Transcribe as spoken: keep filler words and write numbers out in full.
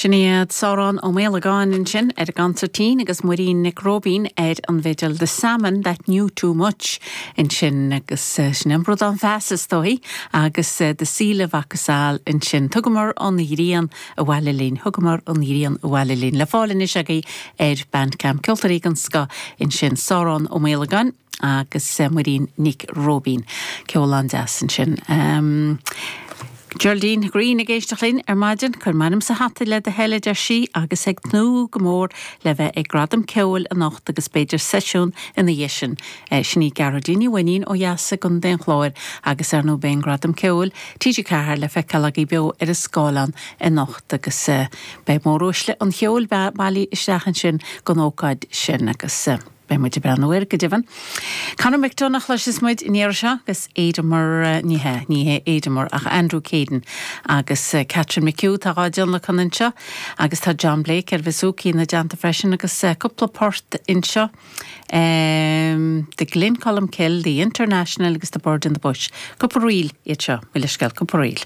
Sin iad Sárán Ó Méalagáin ansin ar an gconsairtín agus Muirín Nic Róibín ar an bhfidil The Salmon That Knew Too Much ansin agus sin an bradán feasa is dóigh agus The Seal of Acasal ansin. Thugamar an ghrian abhaile linn, thugamar an ghrian abhaile linn le fáil anois agaibh ar Bandcamp Ceoltóirí den scoth ansin Sárán Ó Méalagáin agus Muirín Nic Róibín. Ceol an-deas ansin. Um, Geraldine Green ag éisteacht linn ar maidin cuir m'ainm sa hata le do thoil a deir sí agus ag tnúth go mór le bheith ag Gradam Ceoil anocht agus b'fhéidir seisiún ina dhiaidh sin. Sin í Gearóidín Ní Mhainnín ó dheas i gContae an Chláir agus ar ndóigh beidh an Gradam Ceoil TG Ceathair le feiceáil agaibh beo ar an scáileán anocht agus beidh móruaisle an cheoil bailithe isteach ansin don ócáid sin agus beidh muid ag breathnú air go deimhin. Conor McDonagh chloisfidh muid an iarraidh seo agus Éadamar ní hé ní hé Éadamar ach Andrew Caden agus Catherine McHugh tá dhá dtionlacan anseo agus tá John Blake ar bhouzouki ina dteannta freisin agus cúpla port anseo. Um, the Glencolmcille, the International agus the Bird in the Bush. Cúpla ríl iad seo, mo leithscéal cúpla ríl.